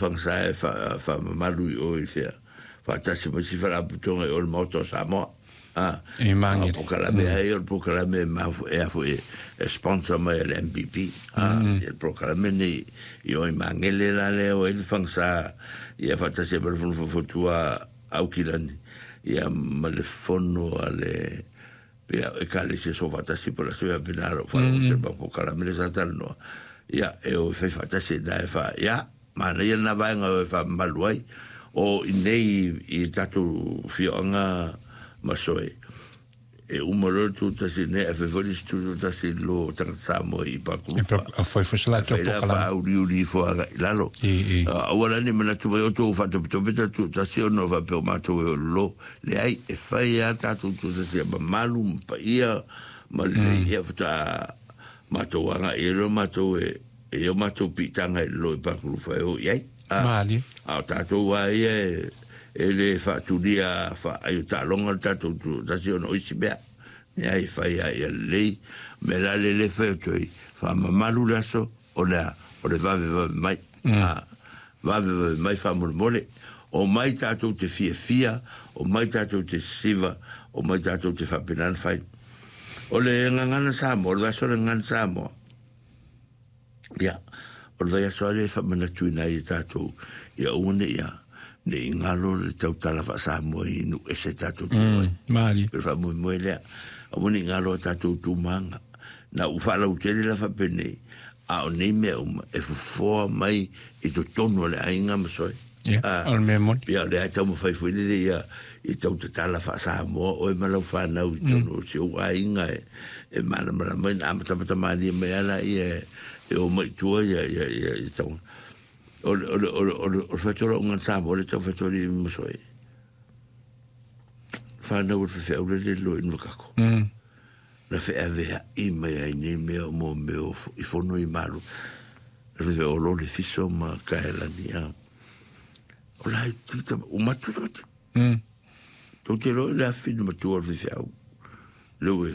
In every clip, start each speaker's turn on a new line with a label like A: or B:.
A: Fagasa e faamamalu i o i fea, faatasi ma isi faalapotopotoga i o i le Maota o Samoa. A,
B: I Magele.
A: O polokalame ai, o le polokalame e mafu, e a foi e sponsor mai e le MPP. A, ia le polokalame nei i o i Magele la lea o ai le Fagasa, ia faatasi ai ma le Fono Faufautua a Aukilani, ia ma le Fono a le Ia, Ekalesia Soofaatasi po o le aso faapena lou faalogo atu i le mau polokalame lea sa talanoa. Ia, e o e fai faatasi ai na e fa, ia, manaia lena vaega e o e faamamalu ai. O i nei i tatou afioaga ma Soe, e uma loa le tutasi nei ae fai foi le isi tutasi i lo tagata Samoa i Pakulufa.
B: E fai foi se latou
A: Fai la
B: polokalame.
A: faauliuli ifo agai i lalo.
B: I, i.
A: Aua la ne i manatu mai outou faatopetope tatou tutasi ona faapea o matou e o i lalo. Leai, e fai lava tatou tutasi ia mamalu ma paia ma lelei, ia faatoa matou agai ai loa matou e e i o matou piitaga i lalo i Pakulufa e o i ai. A,
B: Malie.
A: a o tatou lava ia e, e le faatulia faaai o taaloga le tatou tutasi ona o isi mea. Leai, e fai lava ia lelei. O le mea la lea e fai atu ai, faamamalu le aso, O le a? O le vavevave mai. A, vavevave mai faamolemole. Omai tatou te fiafia, omai tatou te sisiva, omai tatou te faapena ona fai. O le gagana Samoa, o le vaiaso o le gagana Samoa, ia, o le vaiaso lava lea e faamanatuina ai e tatou, ia aua ne i a, ne i galo le tautala faa-Samoa i nuu ese tatou te o ai.
B: Malie.
A: O le faamoemoe lea, aua ne i galo a tatou tumaga. Na ou faalautele la faapenei, a o nei mea uma e fofoa mai i totonu o le aiga ma soe.
B: Ia, o le mea moni.
A: Ia, o lea e taumafai foi lele ia i tau tatala faa-Samoa oe ma lau fanau i totonu o si ou aiga e, e malamalama ai, na amatamata malie mai lava laia e o mai i tua ia, ia, ia, ia tau. O le, o le, o le, o le, o le fai atu o lau gagana Samoa lea e tau fai atu alii ma soe. Fanau o le faifeau lele e loa i Nuvakako. Na feaveai mai ai nei mea o mo mea o i fono i malu. Na o lo le fiso ma kaelani a. O la i tita, o matu tamati. Tou te iloa i le afi na matua o le faifeau. Le ue,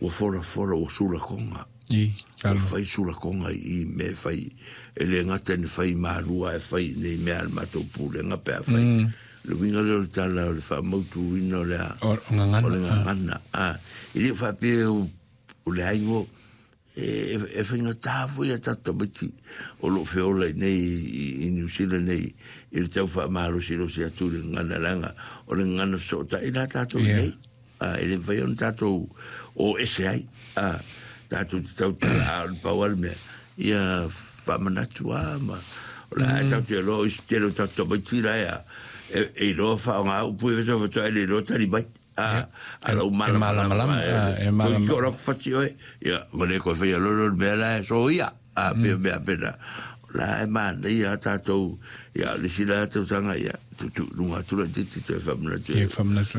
A: ua fola fola, ua sulakoga.
B: I,
A: Ua fai sulakoga i i mea e fai. E le gata ina fai i Malua ae fai i nei mea a le matou pulega pe afai. Le uiga lea o le tala o le faamautuina o le a?
B: O gagana.
A: O le gagana. A, e le o faapea o le aigo e, e faigata foi a tatou tamaiti o lo o feola i nei i Niu Sila nei i le tau faamalosilosi atu i le gagana leaga o le gagana fesootai la tatou i nei. A, e le mafai ona tatou o ese ai, a, tatou te tautala, a o le pau lava le mea, ia faamanatu lava ma, o la e tatou te iloa o isi tele o tatou tamaiti la e a, e, e iloa faaaoga upu ia faatoa e le iloa tali mai. A, a lau malamalama,
B: e malamalama.
A: Koe ki o lau fati oe, ia, ma le koe whaia lolo le mea la e soia. A, pei o mea pena, o la e manaia a tatou, ia, le isi la tausaga, ia, tuutuu i luga atu laitiiti toe faamanatu
B: e,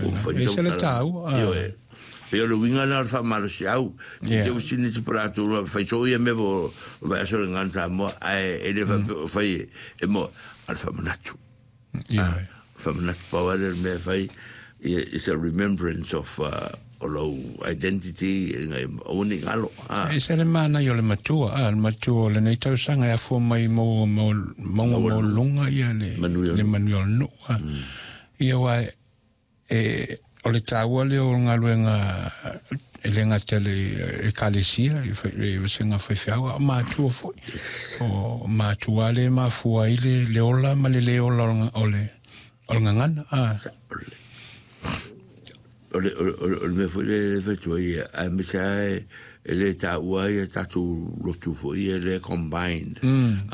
B: ua
A: fai
B: E ese le taua.
A: Ioe. Pei o le uiga lena o le faamalosiau.
B: Ia.
A: Te usini se po latou lua, fai soo ia mea po o vaiaso le gagana Samoa, ae e le faapea o fai e mo, a o le faamanatu.
B: Ioe.
A: Faamanatu pau lava lea o le mea e fai, it's a remembrance of o lou identity ina ia aua ne i galo.
B: E ese le manaia o le matua, a, le matua o lenei tausaga e afua mai mauga maualuluga ia le manuia o le nuu. Ia aua e, o le taua lea o le galuega e le gata i le Ekalesia, i le vasega faifeau, a o matua foi. O matua lea e mafua ai le ola ma le le ola o le gagana.
A: O le mea foi lea e fai atu ai, aemaise lava e le taua ai a tatou lotu foi ia lea combined.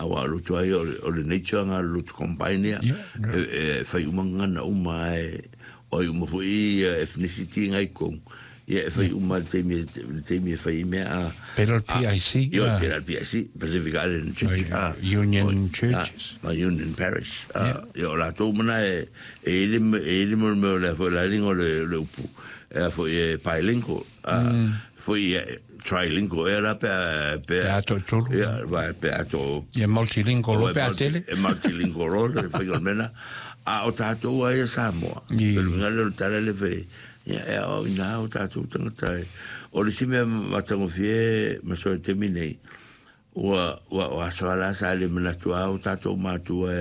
A: Aua o lotu lava ia, o le nature lena o le lotu combined ia, e fai uma gagana uma lava, o ai uma foi ethnicity nga i totonu, ia e fai uma lava i le taimi e fai ai mea a.
B: Pei la o le PIC.
A: Ia, pei la o le PIC, Pacific Island Church.
B: Union Churches.
A: Ma Union Parish. Ia, o latou uma na e i ai le mea o le a foi o le a le igoa o le upu, e a foi e bilingual, foi e trilingual ea la pe a...
B: Pe a toatolu.
A: Ia, pe a to...
B: Ia multilingual loa pe a tele.
A: E multilingual loa le faiga o le mea lena. A o tatou lava ia Samoa, o le uiga lea o le tala lea e fai ai, ia e aoaoina lava o tatou tagata. O le isi mea matagofie ma soa i le taimi lenei, Ua ua o aso lava la sa le manatu a o tatou matua.